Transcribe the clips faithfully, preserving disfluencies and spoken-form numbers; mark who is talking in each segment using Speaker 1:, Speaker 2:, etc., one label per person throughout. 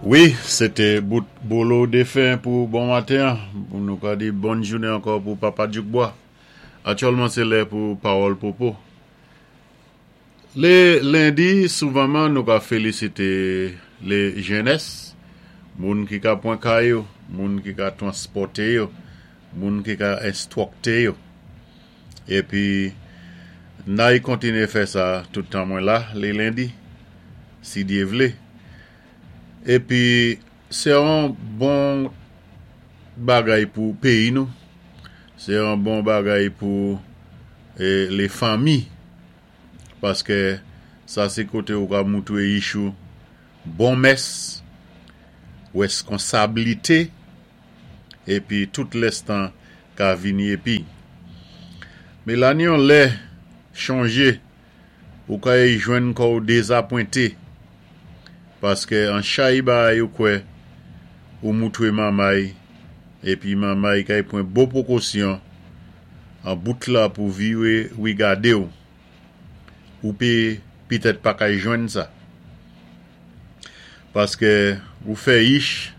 Speaker 1: Wi, sété bout Bolo Défen pou bon maten. Nou ka di bòn jounen ankò pou Papa Djoukbois. Aktyèlman, sé lè pou Pawòl Popo. Lé lendi, souvanman, nou ka félisité lé jènès, moun ki ka pwan ka yo, moun ki ka transpòté yo, moun ki ka enstwikté yo. Épi, n-ay kontiné fè sa tout tan mwen la, lé lendi, si Dye vlé. Épi, sé yon bon bagay pou péyi nou, sé yon bon bagay pou eh, lé fanmi, paské sa sé koté ou ka moutwé yich ou bon mès, wèskonsablité, épi tout lès tan ka vini épi. Mé la ni yon lè chanjé, ou ka jwenn kò ou dézapwenté, paské an chay bagay ou kwè ou moutwé manmay, épi manmay kay pwan bon pwékosyon, an bout la pou viwé wigadé ou. Ou pé pitèt pa kay jwenn sa. Paské ou fè yich,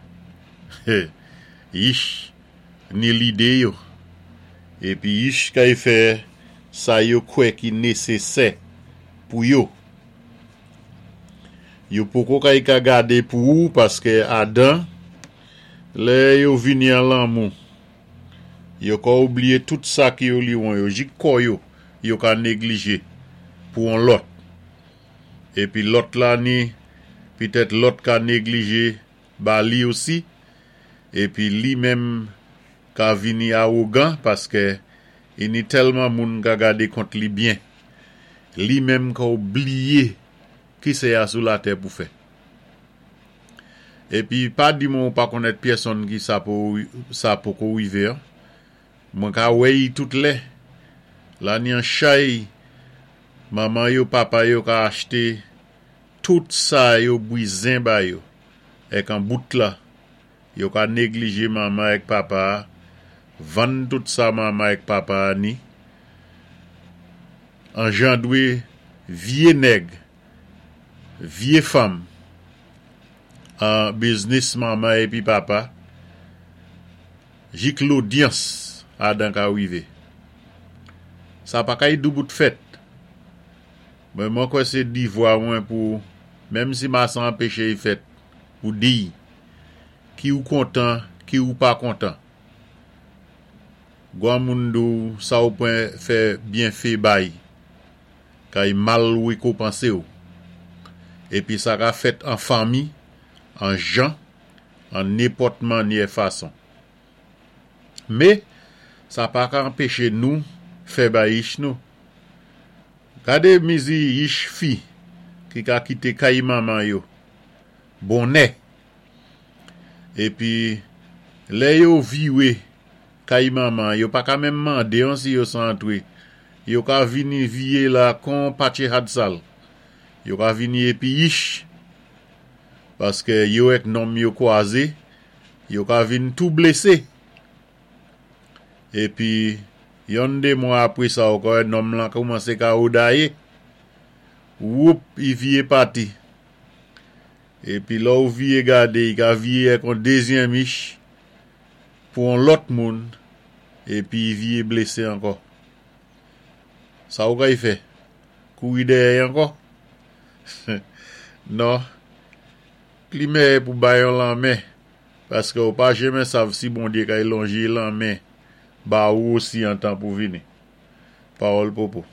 Speaker 1: yich ni lidé yo. Épi yich kay fè sa yo kwè ki nésésè pou yo. Yo poko kay ka gadé pou ou paské adan lè yo vini an lanmou. Yo ka oubliyé tout sa ki yo liwon yo, jik kò yo, yo ka néglijé pou an lòt. Épi lòt la ni, pitèt lòt ka néglijé ba li osi, épi li menm ka vini awogan paské i ni tèlman moun ka gadé kont li byen. Li menm ka oubliyé ki sé a sou latè pou fè. Épi pa di mwen ou pa konnèt pyèsonn ki sa pou sa poko wivé an. Mwen ka wè y tout lè. La ni an chay, manman yo, papa yo ka achté tout sa yo bwizen ba yo. Èk an bout la, yo ka néglijé manman èk papa, vann tout sa manman èk papa ni, anjandwé vyé nèg, vyé fanm, an biznis manman épi papa, jik lodyans adan ka wivé. Sa pa kay doubout fèt. Mwen mwen kwè sé divwa mwen pou, menm si ma san anpéché y fèt, pou di, ki ou kontan, ki ou pa kontan. Gwa moun dou sa ou pwen fè byenfé bay, kay mal wékonpansé ou. Épi sa ka fèt an fanmi, an jan, an nenpòt mannyè fason. Mé, sa pa ka anpéché nou fè bay yich nou. Gadé mizi yich fi ki ka kité kay manman yo, bonnè. Épi, lè yo viwé kay manman, yo pa ka menm mandé an si yo san antwé. Yo ka vini viyé la kon patché had sal. Yo ka vini épi yich, paské yo èk nonm yo kwazé, yo ka vin tou blésé. Épi, yon dé mwa apwé sa ou ka wè nonm lan koumansé ka odayé. Woup, i viyé pati. Épi lè ou viyé gadé, i ka viyé èk on dézyèm yich pou on lòt moun, épi i viyé blésé ankò. Sa ou kay fè? Kouri dèyè ankò? Non. Pli mèyè pou bay yon lanmen, paské ou pa jenmen sav si Bondyé kay lonjé lanmen ba ou osi an tan pou vini. Pawòl Popo.